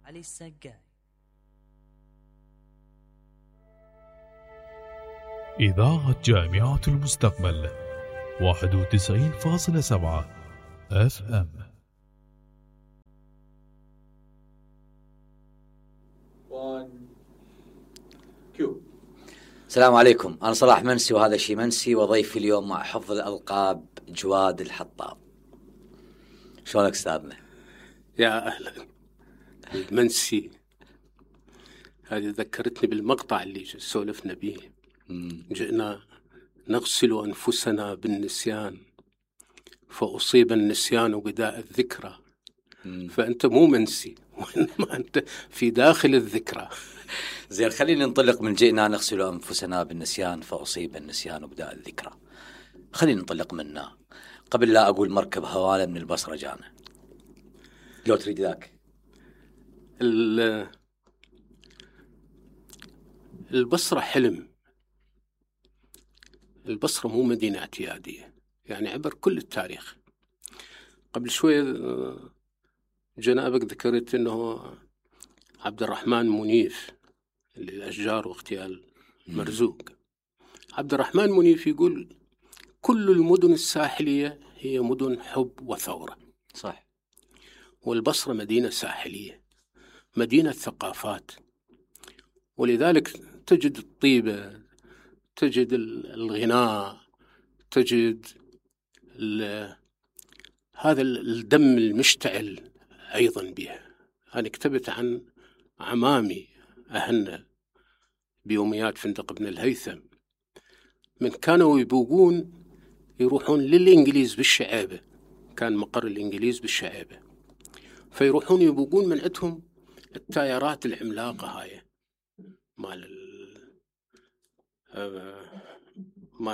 علي السقاي. إذاعة جامعة المستقبل 91.7 FM. السلام عليكم، أنا صلاح منسي وهذا شي منسي، وضيفي اليوم مع حفظ الألقاب جواد الحطاب. شلونك أستاذنا؟ يا أهلا. المنسي هذه ذكرتني بالمقطع اللي سولفنا به. جئنا نغسل أنفسنا بالنسيان فأصيب النسيان بداء الذكرى. فأنت مو منسي وإنما أنت في داخل الذكرى. زين، خلينا ننطلق من جئنا نغسل أنفسنا بالنسيان فأصيب النسيان بداء الذكرى. خلينا ننطلق منها قبل لا أقول مركب هوالة من البصرة جانا. لو تريد ذاك. البصرة حلم. البصرة مو مدينة اعتيادية، يعني عبر كل التاريخ. قبل شوية جنابك ذكرت أنه عبد الرحمن منيف للأشجار واغتيال مرزوق. عبد الرحمن منيف يقول كل المدن الساحلية هي مدن حب وثورة. صح. والبصرة مدينة ساحلية، مدينة ثقافات، ولذلك تجد الطيبة، تجد الغناء، تجد هذا الدم المشتعل أيضا بها. أنا كتبت عن عمامي أهلنا بيوميات فندق بن الهيثم، من كانوا يبوقون يروحون للإنجليز بالشعيبة، كان مقر الإنجليز بالشعيبة، فيروحون يبوقون من عندهم التايرات العملاقة هاي مال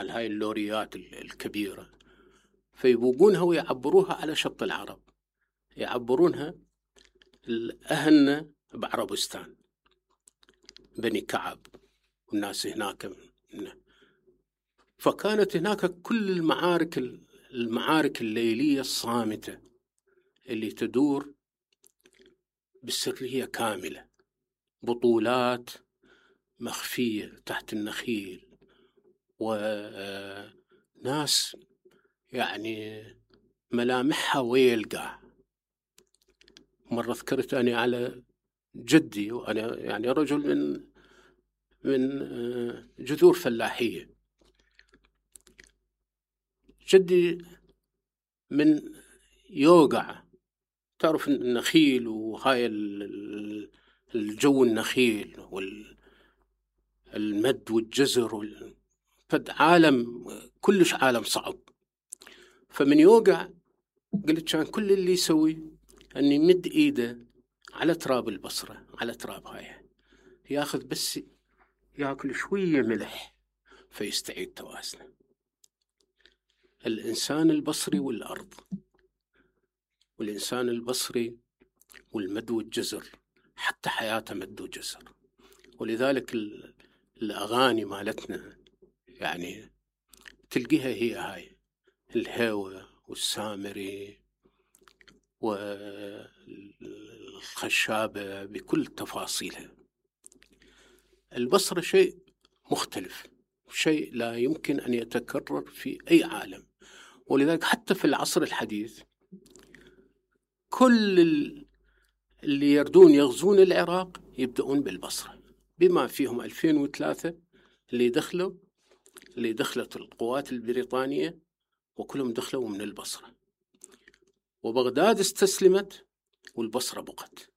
هاي اللوريات الكبيرة، فيبوقونها ويعبروها على شط العرب، يعبرونها أهلنا بعربستان، بني كعب والناس هناك. فكانت هناك كل المعارك الليلية الصامتة اللي تدور بسرية كاملة، بطولات مخفية تحت النخيل، وناس يعني ملامحها ويلقى. مرة ذكرت أنا على جدي، وأنا يعني رجل من جذور فلاحية. جدي من يوقع، تعرف النخيل وهاي الجو النخيل والمد والجزر فد عالم كلش عالم صعب. فمن يوقع قلت كان كل اللي يسوي أن يمد إيده على تراب البصرة، على تراب هاي، ياخذ بس ياكل شوية ملح فيستعيد توازنه. الإنسان البصري والأرض، والإنسان البصري والمد والجزر، حتى حياته مد وجزر. ولذلك الأغاني مالتنا يعني تلقيها هي هاي الهوى والسامري والخشابة بكل تفاصيلها. البصرة شيء مختلف، شيء لا يمكن أن يتكرر في أي عالم. ولذلك حتى في العصر الحديث كل اللي يردون يغزون العراق يبدأون بالبصرة، بما فيهم 2003 اللي دخلت القوات البريطانية، وكلهم دخلوا من البصرة. وبغداد استسلمت والبصرة بقت،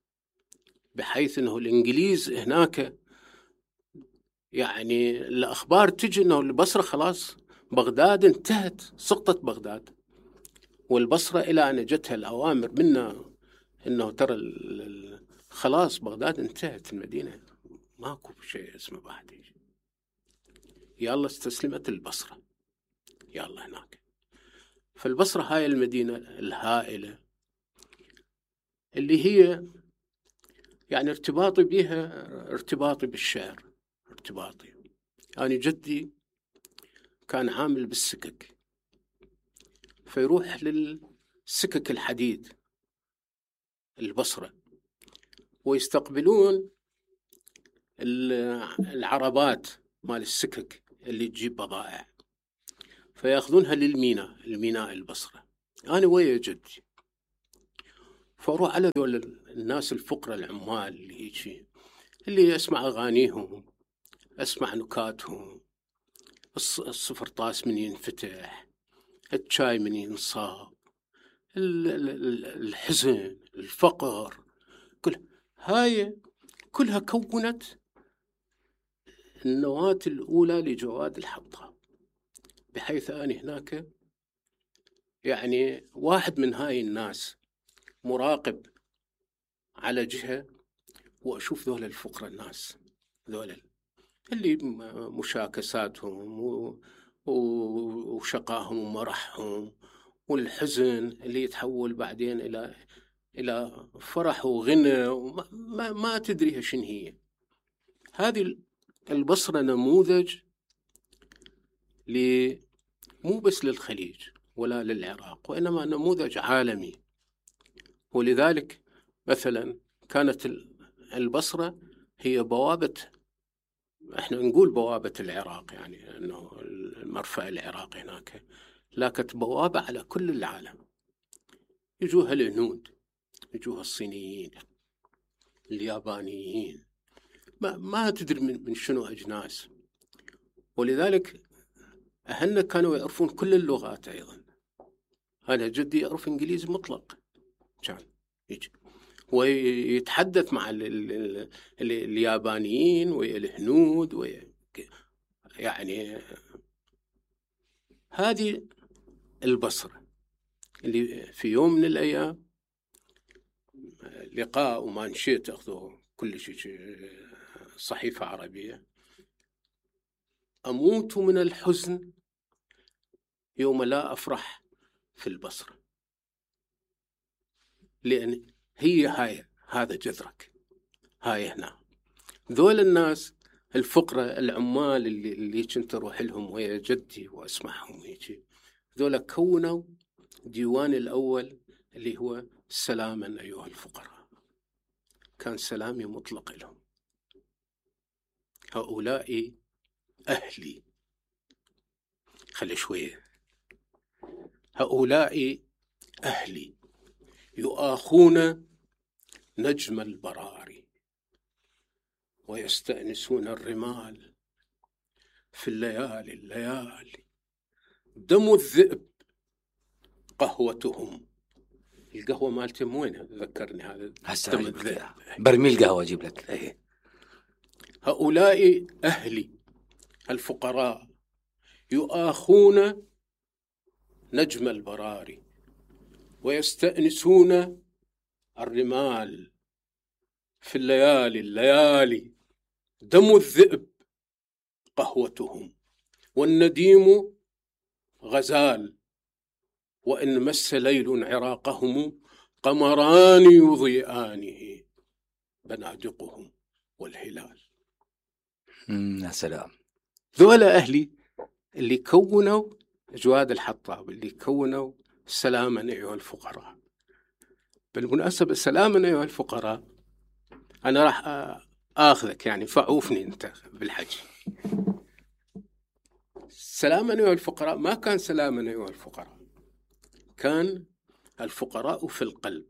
بحيث أنه الإنجليز هناك يعني الأخبار تجي أنه البصرة خلاص بغداد انتهت، سقطت بغداد، والبصرة إلى أن جتها الأوامر منا أنه ترى خلاص بغداد انتهت المدينة، ماكو شيء اسمه بعد. يالله استسلمت البصرة، يالله هناك. فالبصرة هاي المدينة الهائلة اللي هي يعني ارتباطي بها ارتباطي بالشعر، ارتباطي. أنا جدي كان عامل بالسكك، فيروح للسكك الحديد البصرة، ويستقبلون العربات مال السكك اللي تجيب بضائع، فياخذونها للميناء، الميناء البصرة. أنا ويا جدي فأروح على ذول الناس الفقراء العمال اللي هيجي، اللي أسمع أغانيهم، أسمع نكاتهم، الصفرطاس من ينفتح، الشاي من ينصاب، الحزن، الفقر، هاي كلها كونت النواة الأولى لجواد الحطاب. بحيث أنا هناك يعني واحد من هاي الناس مراقب على جهة، وأشوف ذول الفقراء الناس ذول اللي مشاكساتهم وشقاهم ومرحهم، والحزن اللي يتحول بعدين إلى فرح وغنى، ما تدريها شن هي. هذه البصرة نموذج مو بس للخليج ولا للعراق، وإنما نموذج عالمي. ولذلك مثلا كانت البصرة هي بوابة، احنا نقول بوابة العراق، يعني انه المرفأ العراقي هناك، لكن بوابة على كل العالم. يجوها الهنود، يجوها الصينيين، اليابانيين، ما تدري من شنو أجناس. ولذلك أهلنا كانوا يعرفون كل اللغات أيضا. أنا جدي يعرف إنجليزي مطلق، كان يجي ويتحدث مع اليابانيين والهنود يعني هذه البصرة اللي في يوم من الأيام لقاء وما نشيت أخذوا كل شيء صحيفة عربية: أموت من الحزن يوم لا أفرح في البصرة، لأن هي هذا جذرك، هاي هنا. ذول الناس الفقراء العمال اللي كنت أروح لهم ويا جدي وأسمعهم يجي، ذولا كونوا ديوان الأول اللي هو سلاما أيها الفقراء. كان سلامي مطلق لهم: هؤلاء أهلي. خلي شوية: هؤلاء أهلي يؤاخون نجم البراري ويستأنسون الرمال في الليالي دم الذئب قهوتهم. القهوة مالتهم وين؟ ذكرني هذا دم الذئب. برميل قهوة أجيب لك. أيه. هؤلاء أهلي الفقراء يؤاخون نجم البراري ويستأنسون الرمال في الليالي دم الذئب قهوتهم، والنديم غزال، وإن مس ليل عراقهم قمران يضيئانه بنادقهم والهلال. يا سلام. ذولا أهلي اللي كونوا جواد الحطاب، اللي كونوا سلاما أيها الفقراء. بالمناسبة سلاما أيها الفقراء، أنا راح آخذك يعني فعوفني أنت بالحج. سلاما أيها الفقراء ما كان سلاما أيها الفقراء، كان الفقراء في القلب.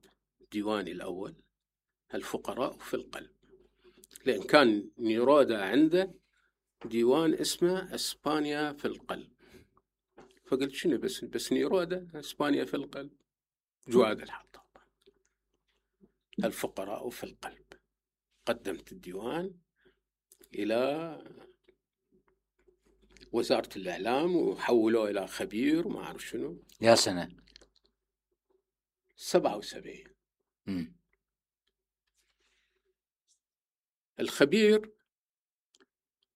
ديواني الأول الفقراء في القلب، لأن كان نيرودا عنده ديوان اسمه إسبانيا في القلب. فقلت شنو بس نيرودا إسبانيا في القلب؟ جواد الحطاب الفقراء في القلب. قدمت الديوان إلى وزارة الإعلام وحولوه إلى خبير وما أعرف شنو. يا سنة 77. الخبير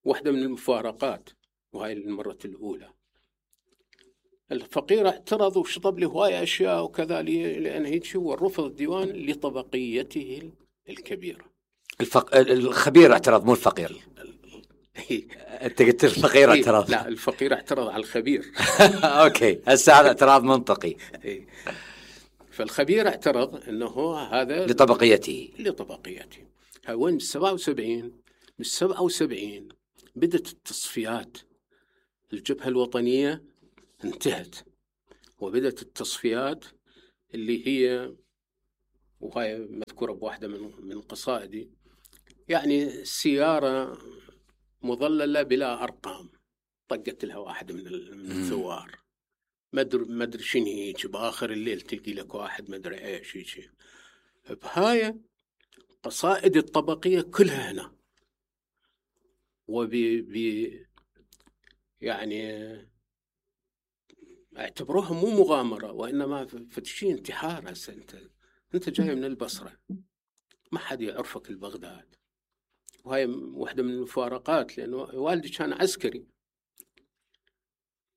واحدة من المفارقات، وهاي المرة الأولى. الفقير اعترض وشطب لي هواية أشياء وكذا، لأن هيك هو رفض الديوان لطبقيته الكبيرة. الخبير اعترض مو الفقير. أنت قلت الفقير اعترض. لا، الفقير اعترض على الخبير. أوكي، هسه هذا اعتراض منطقي. فالخبير اعترض انه هذا لطبقيته. وين بال77 بدت التصفيات. الجبهة الوطنية انتهت وبدت التصفيات اللي هي، وهي مذكورة بواحدة من قصائدي، يعني سيارة مظللة بلا أرقام طقت لها واحد من الثوار، ما ادري شنو هيك، باخر الليل تلقي لك واحد ما ادري ايش هيك. بهاي قصائد الطبقية كلها هنا، يعني اعتبروها مو مغامرة وإنما فتشي انتحار. هسه أنت جاي من البصرة، ما حد يعرفك البغداد، وهاي واحدة من المفارقات، لأنه والدي كان عسكري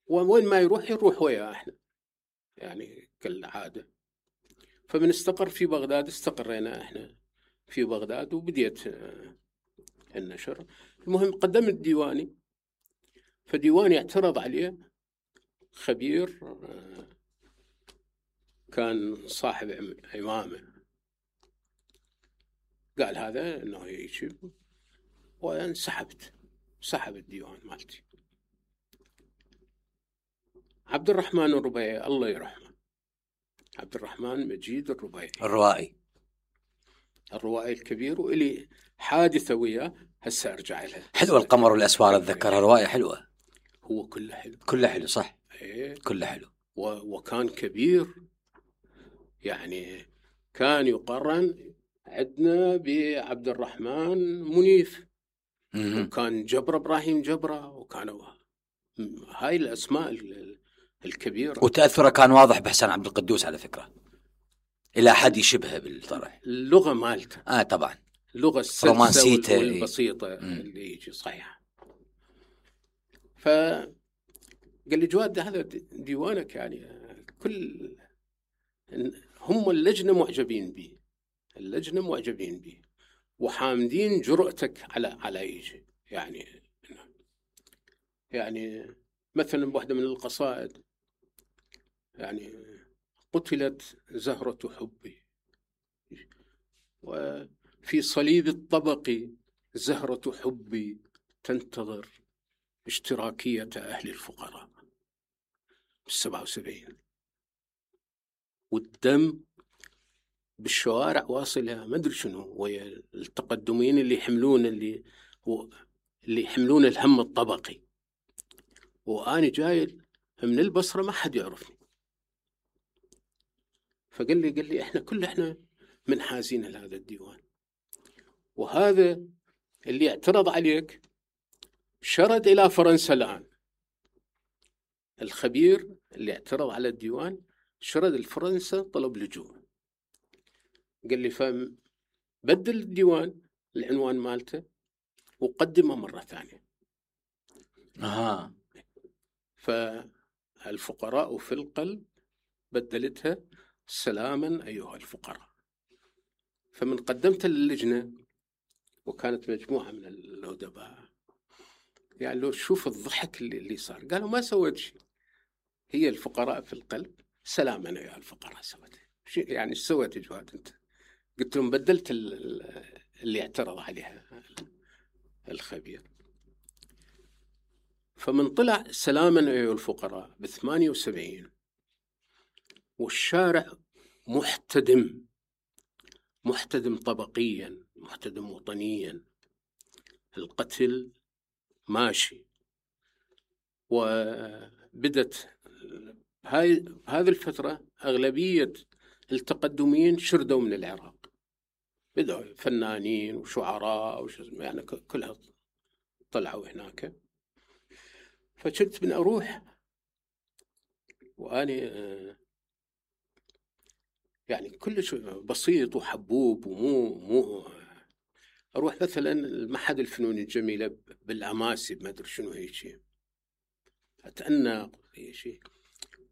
وين ما يروح وياه احنا يعني كالعادة. فمن استقر في بغداد استقرينا احنا في بغداد وبديت النشر. المهم قدمت ديواني، فديواني اعترض عليه خبير كان صاحب عمامة، قال هذا انه هيك، سحب الديوان مالتي. عبد الرحمن الربيعي الله يرحمه، عبد الرحمن مجيد الروائي الكبير، وإلي حادثة وياه هسه أرجع لها. حلوة القمر والأسوار، أتذكرها رواية حلوة. هو كله حلو، كله حلو صح. إيه. كله حلو. وكان كبير، يعني كان يقارن عندنا بعبد الرحمن منيف، وكان جبرة إبراهيم جبرة، وكانوا هاي الأسماء الكبيرة. وتأثره كان واضح بحسن عبد القدوس على فكرة، إلى حد يشبهه بالطرح. اللغة مالته طبعا اللغة السلسة والبسيطة اللي يجي صحيح. فقال لي جواد هذا ديوانك، يعني كل هم اللجنة معجبين به وحامدين جرأتك على يجي. يعني مثلا بواحدة من القصائد، يعني قتلت زهرة حبي وفي صليب الطبق زهرة حبي تنتظر اشتراكية أهل الفقراء. 77 والدم بالشوارع واصلها، ما أدري شنو، ويا التقدمين اللي يحملون الهم الطبقي، وأنا جاي من البصرة ما حد يعرفني. فقال لي احنا منحازين لهذا الديوان، وهذا اللي اعترض عليك شرد إلى فرنسا. الآن الخبير اللي اعترض على الديوان شرد لفرنسا طلب لجوء. قال لي فبدل الديوان العنوان مالته وقدمه مرة ثانية. فالفقراء في القلب بدلتها سلاما أيها الفقراء. فمن قدمت للجنة، وكانت مجموعة من الأدباء، يعني لو شوف الضحك اللي صار، قالوا ما سويت شيء، هي الفقراء في القلب سلاما أيها الفقراء سويت يعني ايش سويت جواد انت؟ قلت لهم بدلت اللي اعترض عليها الخبير. فمن طلع سلاما أيها الفقراء ب78 والشارع محتدم طبقيا، محتدم وطنيا، القتل ماشي. وبدت هذه الفترة أغلبية التقدمين شردوا من العراق، بدأوا فنانين وشعراء يعني كلها طلعوا هناك. فكنت من أروح وأنا يعني كلش بسيط وحبوب ومو أروح مثلا المعهد الفنون الجميلة بالأماسي ما أدري شنو هيك، أتأنق شيء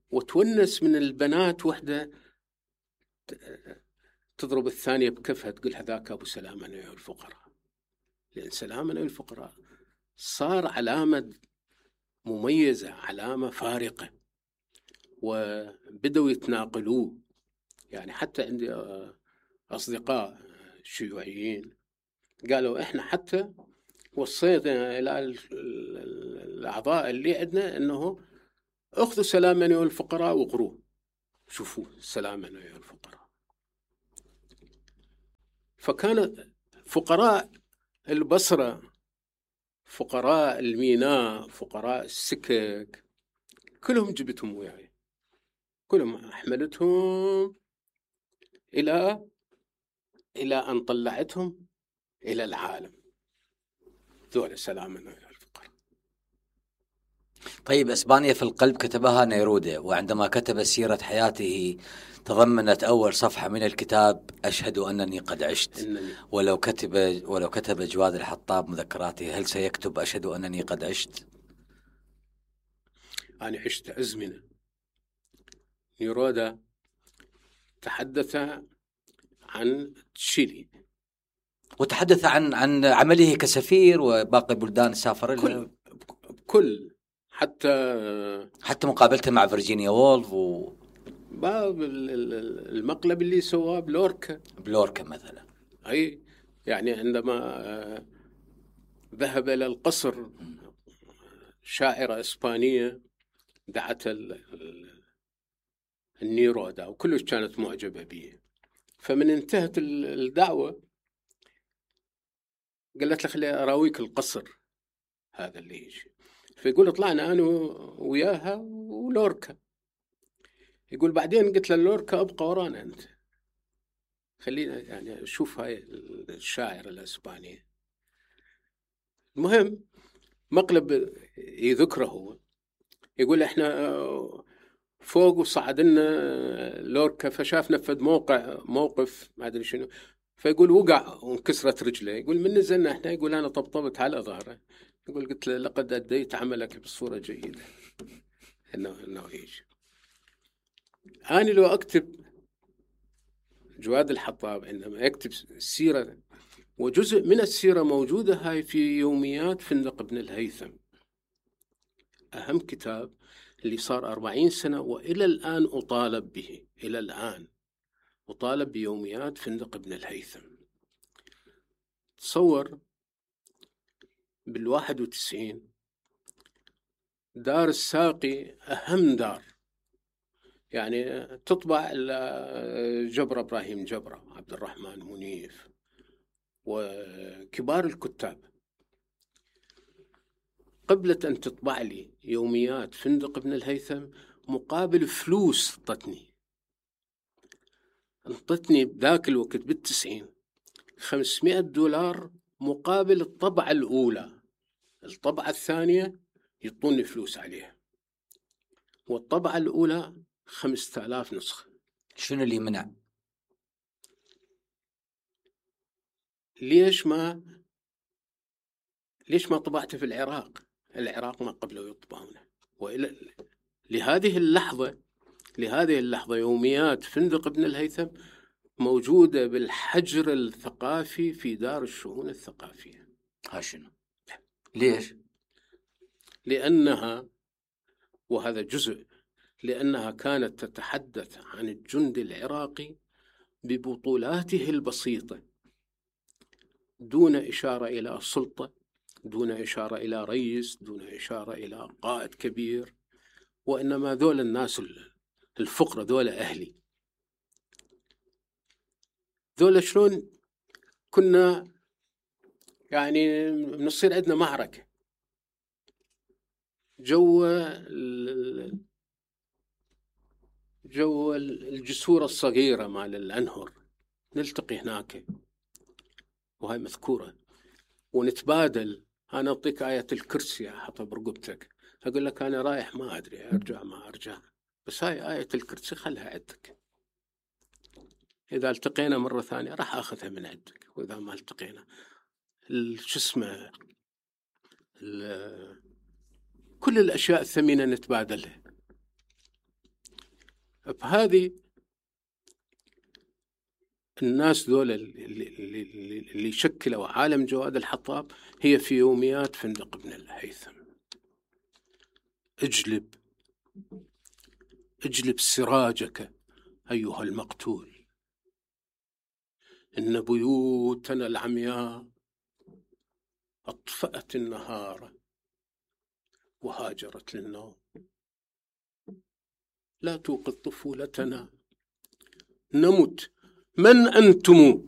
وتونس من البنات وحدة تضرب الثانية بكفها تقول هذاك أبو سلامة أيها الفقراء، لأن سلامة أيها الفقراء صار علامة مميزة، علامة فارقة، وبدأوا يتناقلوه يعني حتى عندي أصدقاء شيوعيين قالوا إحنا حتى وصينا إلى الأعضاء اللي عندنا أنه أخذوا سلام من الفقراء وقروه. شوفوا سلام من الفقراء. فكان فقراء البصرة، فقراء الميناء، فقراء السكك، كلهم جبتهم وياي، كلهم حملتهم إلى أن طلعتهم إلى العالم. ذول سلاما الفقراء. طيب إسبانيا في القلب كتبها نيرودة، وعندما كتب سيرة حياته تضمنت أول صفحة من الكتاب أشهد أنني قد عشت. ولو كتب جواد الحطاب مذكراته هل سيكتب أشهد أنني قد عشت؟ أنا عشت أزمنة. نيرودا تحدث عن تشيلي، وتحدث عن عمله كسفير وباقي بلدان سافر لها، كل حتى مقابلته مع فيرجينيا وولف باب المقلب اللي سواه بلوركا مثلا. أي يعني عندما ذهب إلى القصر شاعرة إسبانية دعت النيرودا وكلش كانت معجبة به. فمن انتهت الدعوة قالت له خلي أراويك القصر هذا اللي يجي. فيقول طلعنا أنا وياها ولوركا. يقول بعدين قلت له لوركا أبقى ورانا أنت، خلينا يعني أشوف هاي الشاعر الإسباني. المهم مقلب يذكره هو، يقول إحنا فوق وصعد لنا لوركا فشاف نفذ موقف ما أدري شنو، فيقول وقع وانكسرت رجله. يقول من نزلنا إحنا، يقول أنا طبطبت على ظهره، يقول قلت له لقد أديت عملك بصورة جيدة إنه يجي. أنا لو أكتب جواد الحطاب عندما يكتب السيرة، وجزء من السيرة موجودة هاي في يوميات فندق ابن الهيثم، أهم كتاب اللي صار 40 سنة وإلى الآن أطالب به، إلى الآن أطالب بيوميات فندق ابن الهيثم. تصور بال91 دار الساقي أهم دار، يعني تطبع جبرة إبراهيم جبرة، عبد الرحمن منيف وكبار الكتاب. قبلت أن تطبع لي يوميات فندق ابن الهيثم مقابل فلوس انطتني بذاك الوقت بال90 $500 مقابل الطبعة الأولى. الطبعة الثانية يعطوني فلوس عليها، والطبعة الأولى 5000 نسخة. شنو اللي منع؟ ليش ما طبعته في العراق ما قبلوا يطبعونه. وإلى لهذه اللحظة يوميات فندق ابن الهيثم موجودة بالحجر الثقافي في دار الشؤون الثقافية. شنو؟ ليش؟ لأنها، وهذا جزء، لأنها كانت تتحدث عن الجندي العراقي ببطولاته البسيطة، دون إشارة إلى سلطة، دون إشارة إلى رئيس، دون إشارة إلى قائد كبير، وإنما ذول الناس الفقراء، ذول أهلي، ذول شلون كنا يعني نصير عندنا معركة جو الجسور الصغيرة مال الأنهر، نلتقي هناك وهي مذكورة ونتبادل. أنا أعطيك آية الكرسي أحطها برقبتك، أقول لك أنا رايح ما أدري أرجع ما أرجع، بس هاي آية الكرسي خلها عندك، إذا التقينا مرة ثانية راح أخذها من عندك، وإذا ما التقينا كل الأشياء الثمينة نتبادلها. بهذه الناس ذول اللي شكلوا عالم جواد الحطاب هي في يوميات فندق ابن الهيثم. اجلب سراجك أيها المقتول، إن بيوتنا العمياء أطفأت النهار وهاجرت للنوم. لا توقظ طفولتنا، نمت. من أنتم